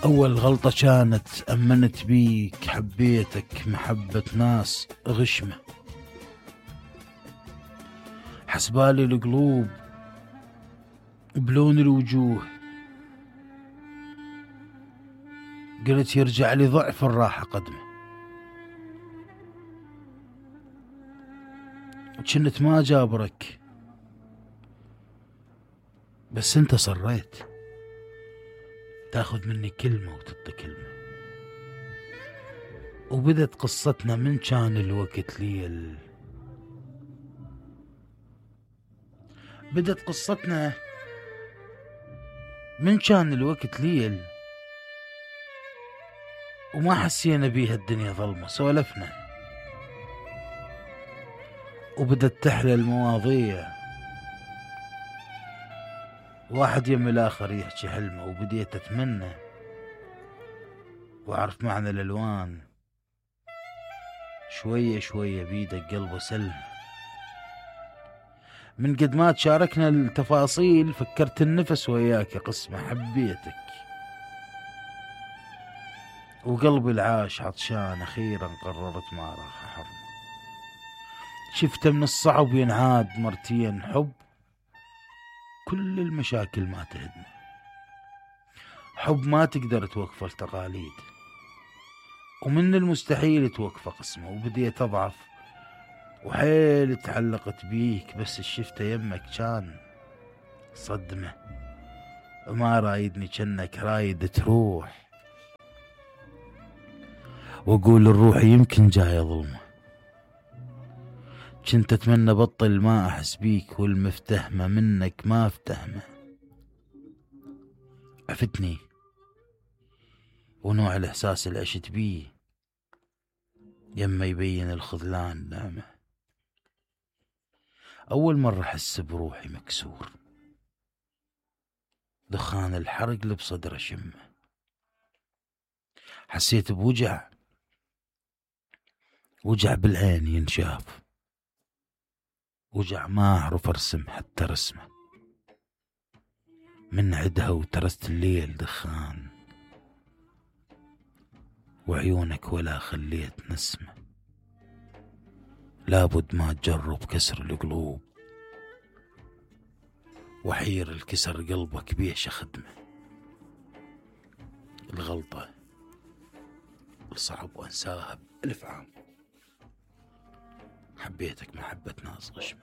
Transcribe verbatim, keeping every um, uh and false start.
أول غلطة كانت أمنت بيك، حبيتك محبة ناس غشمة، حسبالي القلوب بلون الوجوه، قلت يرجع لي ضعف الراحة قدمه، وكنت ما جابرك بس انت صريت تاخذ مني كلمة وتعطي كلمة. وبدت قصتنا من كان الوقت ليل، بدت قصتنا من كان الوقت ليل، وما حسينا بيها الدنيا ظلمة، سولفنا وبدت تحلى المواضيع، واحد يم الآخر يحكي حلمه، وبديت أتمنى وأعرف معنى الألوان، شوية شوية بيدك قلبه سلم. من قد ما تشاركنا التفاصيل فكرت النفس وياك يا قسمة، حبيتك وقلبي العاش عطشان، أخيرا قررت ما راح أحرمه، شفته من الصعب ينعاد مرتين، حب كل المشاكل ما تهدمه، حب ما تقدر توقفه التقاليد، ومن المستحيل توقفه قسمه. وبديت أضعف وحيل تعلقت بيك، بس الشفته يمك كان صدمة، وما رايدني كأنك رايد تروح، واقول الروح يمكن جاية ظلمة، كنت اتمنى بطل ما احس بيك، والمفتهمة منك ما افتهمه، عفتني ونوع الاحساس اللي عشت بيه يما يبين الخذلان نعمه. اول مرة احس بروحي مكسور، دخان الحرق اللي بصدره شمه، حسيت بوجع، وجع بالعين ينشاف، وجع ما اعرف ارسم حتى رسمه، من عدها وترست الليل دخان، وعيونك ولا خليت نسمه، لابد ما تجرب كسر القلوب، وحير الكسر قلبك بيه شخدمه، الغلطة صعب وانساها بألف عام، حبيتك محبة ناس غشمة.